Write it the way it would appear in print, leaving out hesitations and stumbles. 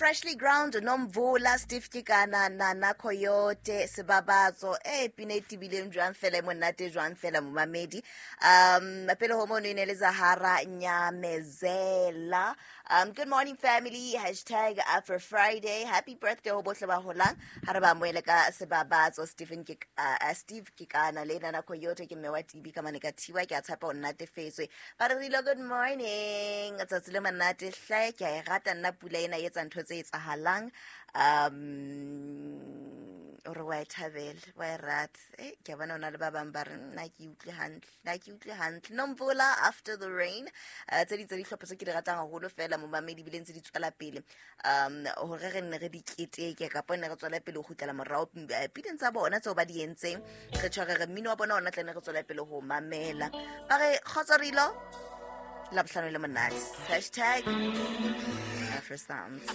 Freshly Ground, Nomvula, Steve Kekana, Nana Coyote, Sebabatso, e pina e tibileng jwang fela, e monate jwang fela, momamedi. Pele ho mono e ne le Zahara Nyamezela. Good morning family, hashtag Afro Friday, happy birthday ho bohle ba holang. Ha re ba amohele ka Sebabatso, Stephen ke Steve Kekana le Nana Coyote, ke mme wa Tibi ka mane ka Thiwa, ke a tshepa o nnatefetswe. Ba re rile good morning, tsatsi le monate hle, ke a e rata nna pula ena e etsa ntho tse etsahalang. O re wa e thabela, wa e rata. Ke a bona o na le ba bang ba re nna ke utlwe hantle, nna ke utlwe hantle. Nomvula, After the Rain. Tse di tse dihlopha tse ke di ratang haholo fela momamedi, ebile ntse di tswela pele hore re nne re di keteke, kapa ne re tswela pele ho kgutlela morao pineng tsa bona tseo ba di entseng, re tshware re mmino wa bona ona tla ne re tswela pele ho mamela. Ba re kgotso rilo Labohlano le monate, hashtag Afro Sounds.